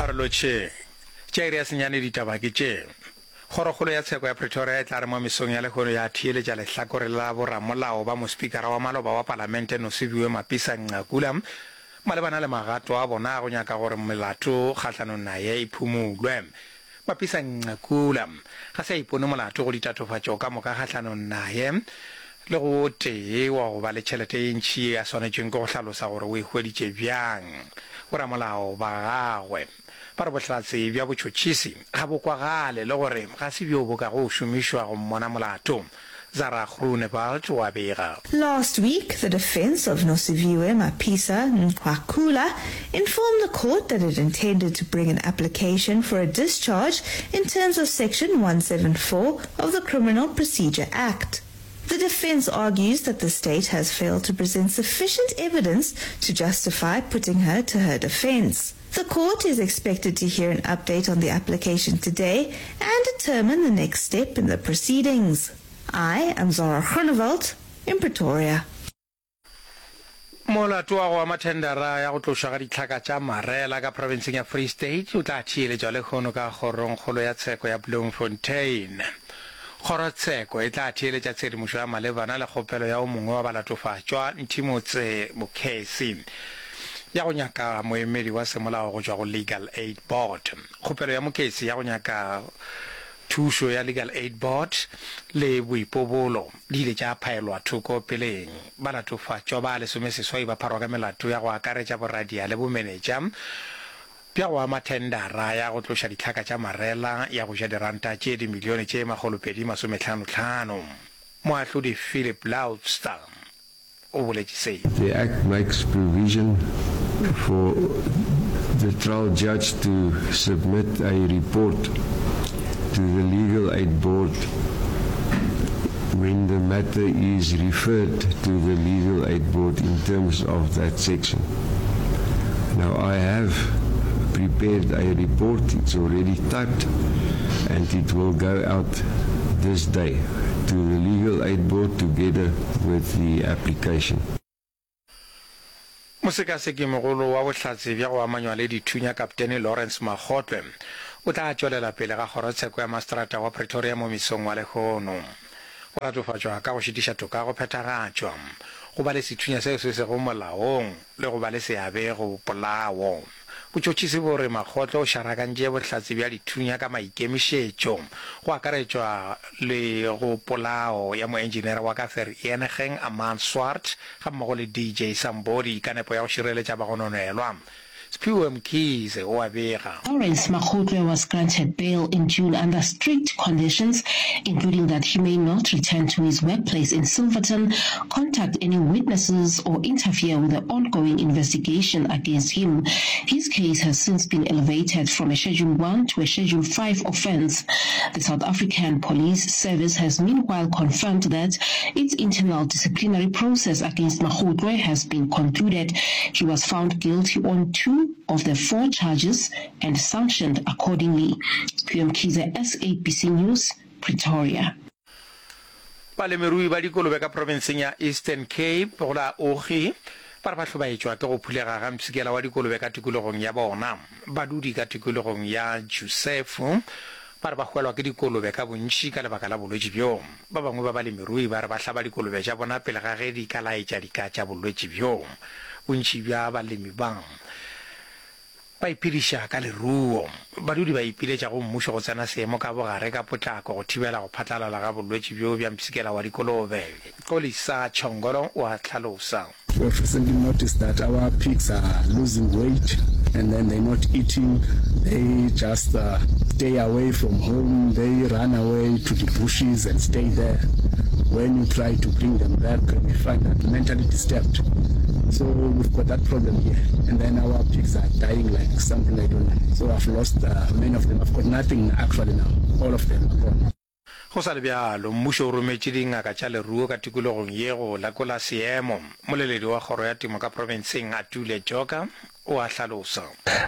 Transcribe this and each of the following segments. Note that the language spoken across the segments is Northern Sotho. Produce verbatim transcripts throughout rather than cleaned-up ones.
A re lotšheng. Tša iri ya senyane ditaba ke tše. Kgorokgolo ya Tsheko ya Pretoria e tla re mo mesong ya lehono ya theeletša lehlakore la boramolao ba mospikara wa maloba wa Palamente Nosiviwe Mapisa-Nqakula malebana le magato a bona a go nyaka gore melato kgahlanong naye e phumulwe. Mapisa-Nqakula ga se a ipone molato go ditatofatšo ka moka kgahlanong naye le go o tee wa go ba le tšhelete ye ntši ye a swanetšweng ke go hlalosa gore o e hweditše bjang. Boramolao ba gagwe ba re bohlatse bja botšhotšhisi ga bo kwagale le gore ga se bjo bo kago šomišwa go mmona molato. Zara Groenewald o a bega. Last week, the defense of Nosiviwe Mapisa Nqakula informed the court that it intended to bring an application for a discharge in terms of Section one seven four of the Criminal Procedure Act. The defense argues that the state has failed to present sufficient evidence to justify putting her to her defense. The court is expected to hear an update on the application today and determine the next step in the proceedings. I am Zara Groenewald in Pretoria. Molato wa go ama thendara ya go tlošwa ga ditlhaka tša marela ka profenseng ya Free State o tla theeletšwa lehono ka Kgorongkgolo ya Tsheko ya Bloemfontein. Kgorotsheko e tla theeletša tshedimošo ya malebana le kgopelo ya o mongwe wa balatofatšwa, Nthimotse Mokhesi, ya go nyaka moemedi wa semolao go tšwa go Legal Aid Board. Kgopelo ya Mokhesi ya go nyaka thušo ya Legal Aid Board le boipobolo di ile tša phaelwa thoko peleng. Balatofatšwa ba lesomeseswai ba pharwa ka melato ya go akaretša boradia le bomenetša bja go ama thendara ya go tloša ditlhaka tša marela ya go ja diranta tše dimilione tše makgolopedi masomehlanohlano. Moahlodi Philip Loubser o boletše se. The Act makes provision for the trial judge to submit a report to the Legal Aid Board when the matter is referred to the Legal Aid Board in terms of that section. Now, I have prepared a report, it's already typed, and it will go out this day to the Legal Aid Board together with the application. Mosekaseki-mogolo wa bohlatse bja go amanywa le dithunya Kaptene Lawrence Makgotlwe o tla tšwelela pele ga kgorotsheko ya maseterata wa Pretoria mo mesong wa lehono. O latofatšwa ka go šitiša toka go phethagatšwa, go ba le sethunya seo se sego molaong le go ba le seabe go polao. Botšhotšhisi bo re Makgotle o šarakantše bohlatse bja dithunya ka maikemišetšo, go akaretšwa le go polao ya moenjinere wa ka Vereeniging Armand Swart gammogo le D J Sambodi ka nepo ya go šireletša bagononelwa. Siphiwe Mkhize o a bega. Lawrence Makgotle was granted bail in June under strict conditions, including that he may not return to his workplace in Silverton, contact any witnesses or interfere with the ongoing investigation against him. His case has since been elevated from a Schedule one to a Schedule five offence. The South African Police Service has meanwhile confirmed that its internal disciplinary process against Makgotle has been concluded. He was found guilty on two of the four charges and sanctioned accordingly. Siphiwe Mkhize, S A B C News, Pretoria. Balemirui ba dikolobe ka profenseng ya Eastern Cape go la Ogi ba re ba hlobaetšwa ke go phulega ga mpshikela wa dikolobe ka tikologong ya bona. Badudi ka tikologong ya Jusefu ba re ba hwelwa ke dikolobe ka bontši ka lebaka la bolwetši bjo. Ba bangwe ba balemirui ba re ba hlaba dikolobe tša bona pele ga ge di ka laetša dika tša bolwetši bjo. Bontši bja balemi ba ba iphediša ka leruo. Badudi ba ipiletša go mmušo go tsena seemo ka bogare ka potlako go thibela go phatlalala ga bolwetši bjo bja mpshikela wa dikolobe. Xolisa Tshongolo o a hlalosa. We have recently noticed that our pigs are losing weight and then they're not eating, they just stay away from home, they run away to the bushes and stay there. When you try to bring them back, we find that mentally disturbed. So we've got that problem here. And then our pigs are dying like something I don't know. So I've lost, uh, many of them. I've got nothing actually now. All of them are gone. Go sa le bjalo, mmušo o rometše dingaka tša leruo ka tikologong ye go lekola seemo. Moleledi wa kgoro ya temo ka profenseng, Atule Joka, o a hlalosa.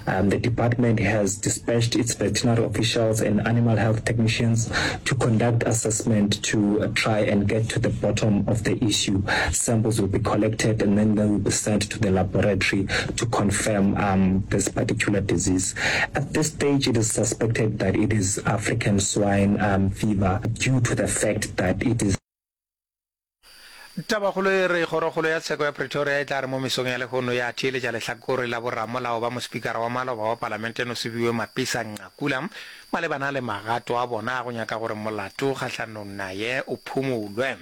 Um, the department has dispatched its veterinary officials and animal health technicians to conduct assessment to try and get to the bottom of the issue. Samples will be collected and then they will be sent to the laboratory to confirm um, this particular disease. At this stage, it is suspected that it is African swine um, fever due to the fact that it is Tabakgolo e re Kgorokgolo ya Tsheko ya Pretoria e tla re mo mesong ya lehono ya theeletša lehlakore la boramolao ba mospikara wa maloba wa Palamente Nosiviwe Mapisa Nqakula malebana le magato a bona a go nyaka gore molato kgahlanong naye o phumolwe.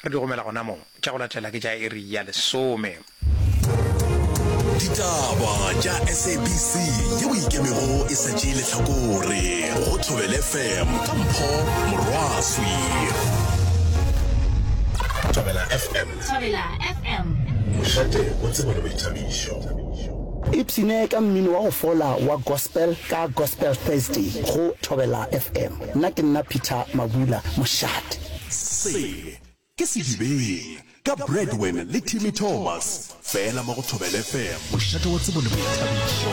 Re di gomela gona mo. Tša go latela ke tša iri ya lesome. Ditaba tša S A B C yeo e ikemego e sa tšee lehlakore go Thobela F M ka Mpho Morwaswi. Thobela F M. Thobela F M. Mošate wa tsebo le boithabišo. Ipshine ka mmino wa go fola wa gospel ka Gospel Thursday go Thobela F M. Nna ke nna Peter Mabula, mošate. Se ke Sedibeng ka Bradwin le Timmy Thomas, fela mo go Thobela F M, mošate wa tsebo le boithabišo.